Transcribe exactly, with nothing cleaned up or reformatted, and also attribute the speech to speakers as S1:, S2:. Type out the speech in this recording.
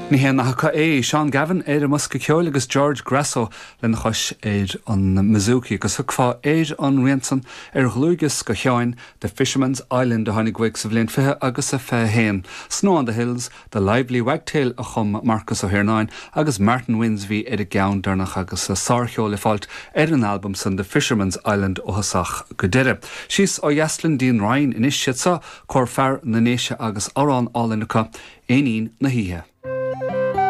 S1: Ní hé nach é Seán Gavin ar an mbosca ceoil agus George Grasso lena chois ar an mbouzouki agus thiocfá ar an rian san ar dhlúthdhiosca Sheáin The Fisherman's Island a tháinig uaidh sa bhliain fiche agus a fiche haon. Snow on the Hills, The Lively Wagtail a chum Marcus Ó hIarnáin agus Martin Wynns bhí ar an gceann deireanach agus a sárcheol le fáilt ar an album san The Fisherman's Island ó thosach go deireadh. Síos ó dheas linn dtí'n Rinn anois siad seo Cór Fear na nDéise agus amhrán álainn acu Éinín na hOíche.